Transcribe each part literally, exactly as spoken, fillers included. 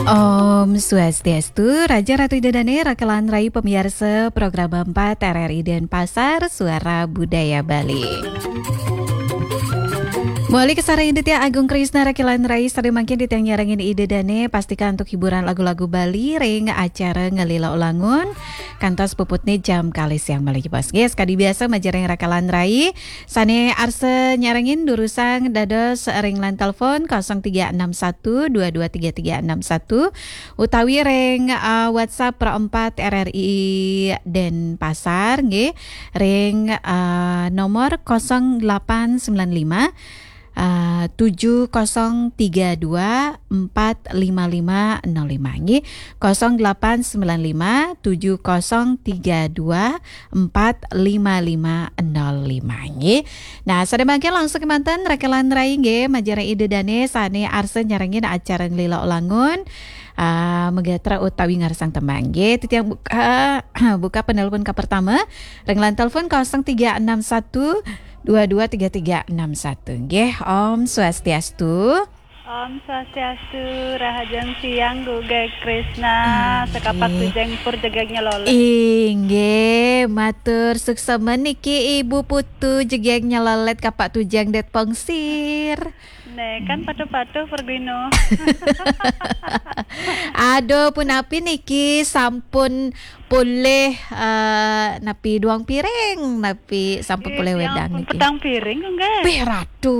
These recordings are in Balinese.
Om Swastiastu, Raja Ratu Ida Dane, Rakelan Rai pamiarsa Program empat R R I Denpasar, Suara Budaya Bali. Mawali kasarengin titiang Agung Krisna, Rakelan Rai, sareng mangkin titiang nyarengin Ida Dane, pastika antuk hiburan lagu-lagu Bali ring acara Ngelila Ulangun, kantos puputne jam kalih siang malih jebos. Nggih, sakadi biasa majeng ring Rakelan Rai, sane arsa nyarengin durusang dados ring line telepon kosong tiga enam satu dua dua tiga tiga enam satu utawi ring, eh, WhatsApp Pro empat R R I Denpasar nggih ring, eh, nomor kosong delapan sembilan lima, eh, tujuh kosong tiga dua empat lima lima nol lima nggih. Kosong delapan sembilan lima tujuh kosong tiga dua empat lima lima nol lima nggih. Nah, sane mangkin langsung kemanten Rakelan Rai nggih, majeng ring Ida Dane sane arsa nyarengin acara Ngelila Ulangun, ah, magatra utawi ngarsang tembang nggih. Titiang buka, buka penelpon ka pertama, ring line telepon kosong tiga enam satu dua dua tiga tiga enam satu nggih. Om Swastiastu. Om Swastiastu, rahajeng siang, Gung Krisna, sekapak tujeng pur jegegnya lolet. Inggih, matur suksma niki Ibu Putu, jegegnya lolet kapak tujeng det pongsir. Nih, kan patuh-patuh perguino. Aduh, punapi niki sampun polih, eh, napi duang piring, napi sampun polih wedang niki. Petang piring, Gung Gek. Bih, Ratu.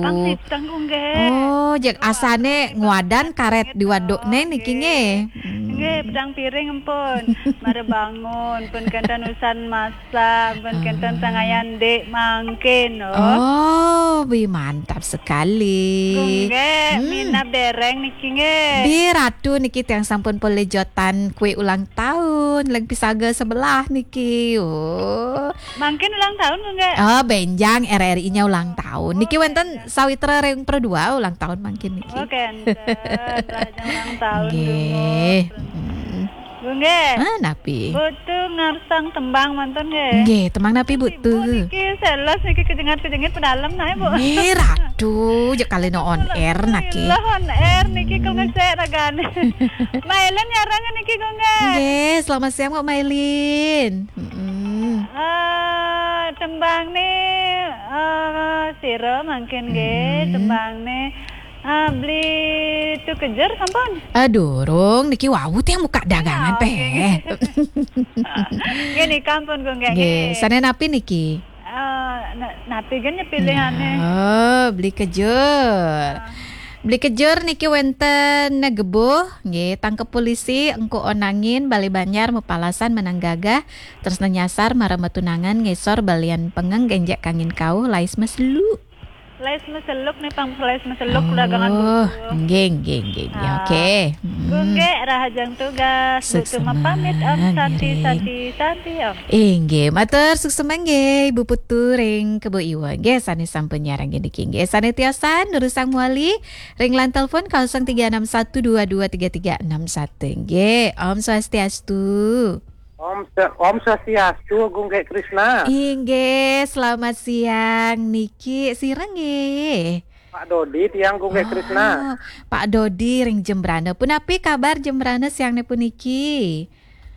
Pang siteng, Gung Gek. Oh, jeg asane ngwadan karet di waduk ne niki nggih. Hmm. Nggih, petang piring empun. Mara bangun, pun kenten usan masak, pun kenten sangayan dik mangkin, oh. Oh, bih, mantap sekali. Gung Gek, minab dereng niki nggih. Bih, Ratu niki tiang sampun polih jotan kue ulang tahun, leg pisaga sebelah niki. Oh. Mangkin ulang tahun, Gung Gek? Oh, benjang R R I-nya ulang tahun. Niki wenten sawitra ring Pro dua ulang tahun mangkin niki. Oh, kenten. Rahajeng ulang tahun, nggih. Gung Gek. Ah, napi? Putu ngarsang tembang mantun nggih. Nggih, tembang napi, Bu, tu? Niki seles niki kejengit-kejengit pedalem nae, Bu. Nggih, Ratu, jeg kalina on air naki. Lah on air niki kok ngecek ragane. Mailin nyarang niki, Gung Gek. Nggih, selamat siang, Bu Mailin. Mm-mm. Eh, tembang ni, eh, sira mangkin nggih, tembang ni, eh, beli tu kejer sampun? Eh, durung, niki wau tiang buka dagangan. Oh, peh. Nggih. Nggih, nika ampun, Gung Gek, nggih. Sane napi niki? Eh, na-, napi gen nyepilihane? Oh, beli kejur. Ah. Beli kejur niki wenten Gebuh, nggih, tangkep polisi, engko onangin, bali banjar, mapalasan, menang gagah, tresna nyasar, mara matunangan, ngisor, balian pengeng, genjek kangin kauh, lais meselu. Lais meseluk nih, pang lais meseluk dagangan buku. Oh, nggih, nggih, nggih, nggih. Ah. Oke. Mm-mm. Gung Gek, rahajeng tugas. Suksma, Bu Tuma pamit, Om Santi, ngiring. Santi, Santi, Om. Inggih, matur suksma nggih, Ibu Putu ring Kebo Iwa. Nggih, sane sampun nyarang niki nggih. Sane tiosan, durusang mawali, ring line telepon kosong tiga enam satu dua dua tiga tiga enam satu. Nggih, Om Swastiastu. Om Swa-, Om Swastiastu, Gung Gek Krisna. Inggih, selamat siang niki, sira nggih? Pak Dodi tiang, Gung Gek Krisna. Oh, Pak Dodi ring Jembrana. Punapi kabar Jembrana siangne puniki?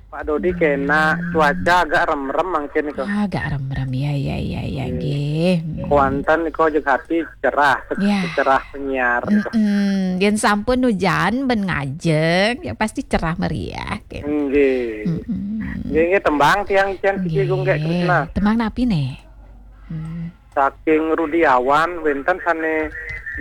Pak Dodi kena, cuaca agak remrem mangkin nika. Ah, agak remrem, ya, ya, ya, ya, nggih. Nggih. Hmm. Kuanten nika jeg ati cerah, se-, ya, cerah penyiar nika. Mm-mm. Yen sampun ujan ben ngajeng, ya pasti cerah meriah, gitu. Nggih. Mm-mm. Nggih, nggih, tembang tiang icen siki, Gung Gek Krisna. Nggih. Tembang napi ne? Hmm. Saking Rudiawan, wenten sane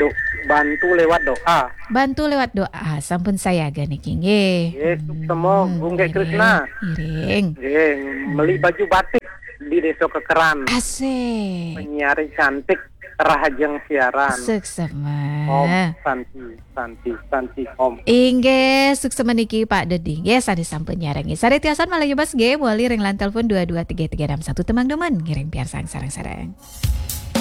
do-, bantu lewat doa. Bantu lewat doa, sampun sayaga niki nggih. Nggih, suksma, hmm, Gung Gek Krisna. Ngiring, ngiring. Nggih, meli baju batik di Desa Kekeran. Asik. Penyiar cantik, rahajeng siaran. Suksma. Om Santi. Santi, Santi, Om. Inggih, suksma niki Pak Dodi. Nggih, sane sampun nyarengin. Sane tiosan malih jebos nggih, mawali ring line telepon dua dua tiga tiga enam satu, tembang dumun ngiring piarsang sareng-sareng.